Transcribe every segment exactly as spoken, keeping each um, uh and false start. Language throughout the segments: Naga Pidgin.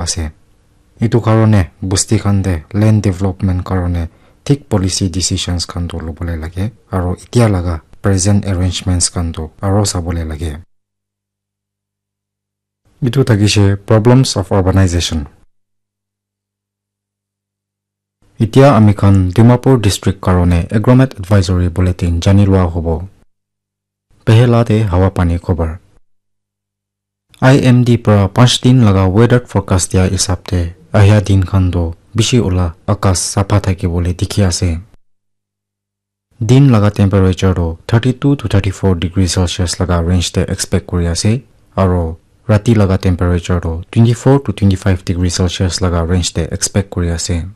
ase. Etu karone bosti khan te land development karone thik policy decisions khan tu lobole lage, aro etia laga present arrangements khan tu aro sabole lage. Etu thakishe problems of urbanization. Etia ami khan Dimapur district karone agromet advisory bulletin jani lua hobo. Pehela te hawa pani khobor. I M D para panch din laga weather forecast dia hisab te ahia din khan tu bishi ula akas sapha thaki bole dikhi ase. Din laga temperature tu thirty two to thirty four degree Celsius laga range te expect kuri ase, aro rati laga temperature tu twenty four to twenty five degree Celsius laga range te expect kuri ase.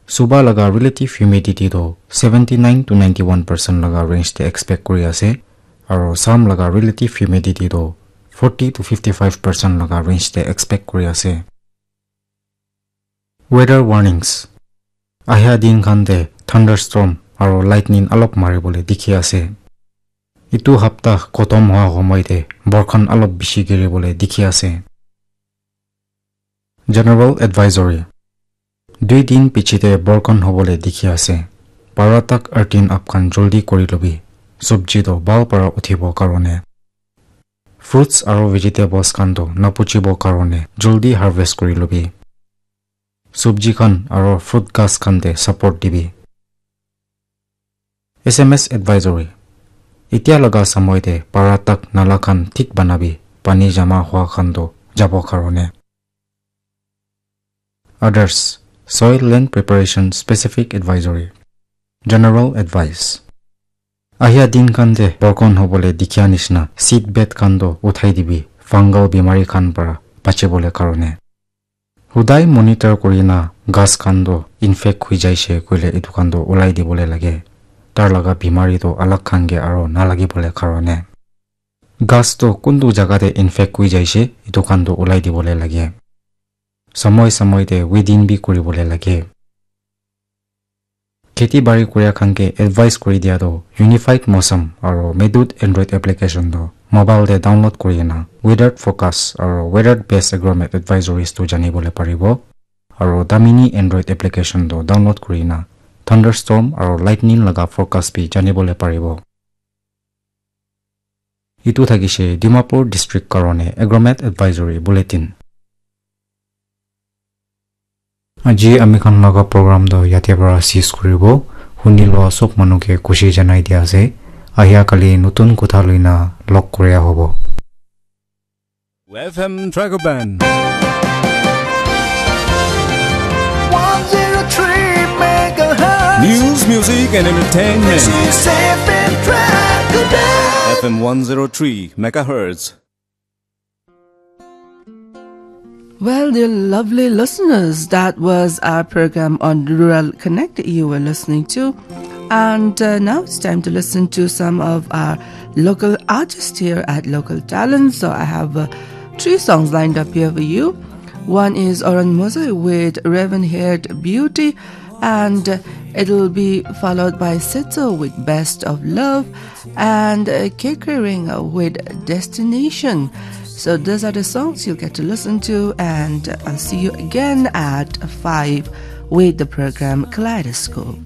Suba laga relative humidity tu seventy nine to ninety one percent laga range te expect kuri ase, aro sam laga relative humidity tu forty to fifty five percent laga range te expect kuri ase. Weather warnings. Ahia din khan te thunderstorm aro lightning alop mari bole dikhi ase. Etu hapta khotom hoa homoi te borkhan alop bishi giri bole dikhi ase. General advisory. Dui din piche te borkhan hobole dikhi ase. Para tak earthing up khan joldi kuri lobi. Subji to bhal para uthibo karone. Fruits aro vegetables khan to napuchibo karone joldi harvest kuri lobi. Subji khan aro fruit ghas khan te support dibi. S M S advisory. Etia laga samoi te para tak nala khan thik banabi, pani jama hua khan to jabo karone. Others, soil land preparation specific advisory. General advice. Ahia din khan te borkhan hobole dikhia nishina seed bed khan to uthai dibi, fungal bimari khan para bachibole karone. Hudai monitor kurina ghas khan to infect hui jaise koile etu khan to ulai dibole lage. Tar laga bimari to alag khan ke aro nalagibole karone. Ghas to kuntu jaga te infect hui jaise etu khan to ulai dibole lage. Samoi samoi te weeding bi kuribole lage. Kheti bari kuria khan ke advice kuri dia to Unified Mosam aro Medut Android application to mobile te download kuri na weather forecast aro weather based agromet advisories to jani bole paribo. Aro Damini Android application to download kuri na thunderstorm aro lightning laga forecast bi jani bole paribo. Etu thakishe Dimapur district karone agromet advisory bulletin. Aji ami khan laga program to yate para sis kuribo. Huni loa sob manu ke khushi janai dia ase. Ahia kali nutun kotha loina log koria hobo. F M Dragon Band. One zero three megahertz. News, music, and entertainment. This is F M Dragon Band. F M one zero three megahertz. Well, dear lovely listeners, that was our program on Rural Connect you were listening to. And uh, now it's time to listen to some of our local artists here at Local Talent. So I have uh, three songs lined up here for you. One is Oran Mozai with Raven Haired Beauty, and uh, it'll be followed by Setso with Best of Love, and uh, Kekering with Destination. So those are the songs you'll get to listen to, and I'll see you again at five with the program Kaleidoscope.